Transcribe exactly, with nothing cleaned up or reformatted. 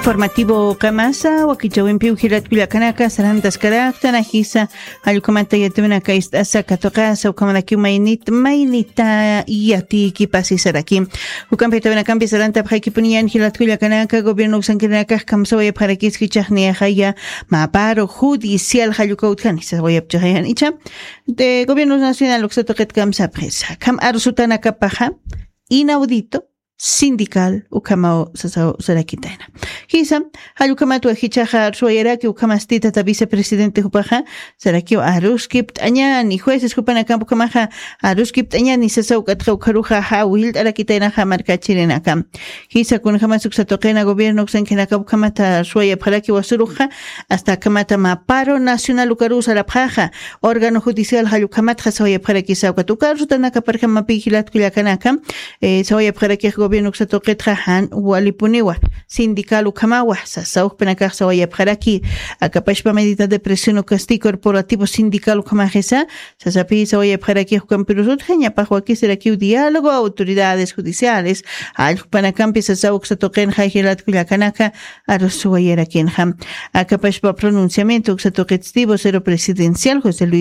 Informativo kamasa wakichawimpiw jilatkullakanaka sarantaskaraktan ajisa. Allkukamata yatiwinaka ist'asa katuqasa ukamarakiw maynit maynita yatiki pasisaraki. Ukampitawinakampi sarantapxaykipuniyan jilatkullakanaka gobierno uksankirinakax kamsawayapxarakis jichaxniyajaya maparo judicial jallukawtjani sawayapchaxayan icha. De gobierno nacional uksatuqit kamsapxisa kam arusutanakapaxa inaudito sindical ukhamaw sasaw sarakitayna. Jisa, jallukhamat wajichaxa arsuwayaraki ukhamasti tata vicepresidente jupaxa sarakiw aruskipt'añani jueces jupanakamp ukhamaxa aruskipt'añani sasaw k'atxa ukharuxa jawillt'arakitaynaxa markachirinakam. Jisa kunjama suksatuqina gobierno uksankinakap ukhamata arsuwayapxaraki wasuruxa hasta akhamata maparo nacional ukaru sarapxaxa órgano judicial jallukhamatxa sawayapxarakisa ukat uka arsutanakaparjamapi jilatkullakanaka sawayapxarakix gobierno uksatuqitxa jan walipuniwa sindical ukhamawa sasawjpinakax sawayapxaraki. Akapashpa medida de presión ukasti corporativo sindical ukhamaxisa sasapi sawayapxarakix ukampirusutxa ñapax wakisirakiw diálogo autoridades judiciales allqpanakampi sasaw uksatuqinxa jilatkullakanaka arusuwayarakinxa. Akapashpa pronunciamiento uksatuqitsti vocero presidencial josé luis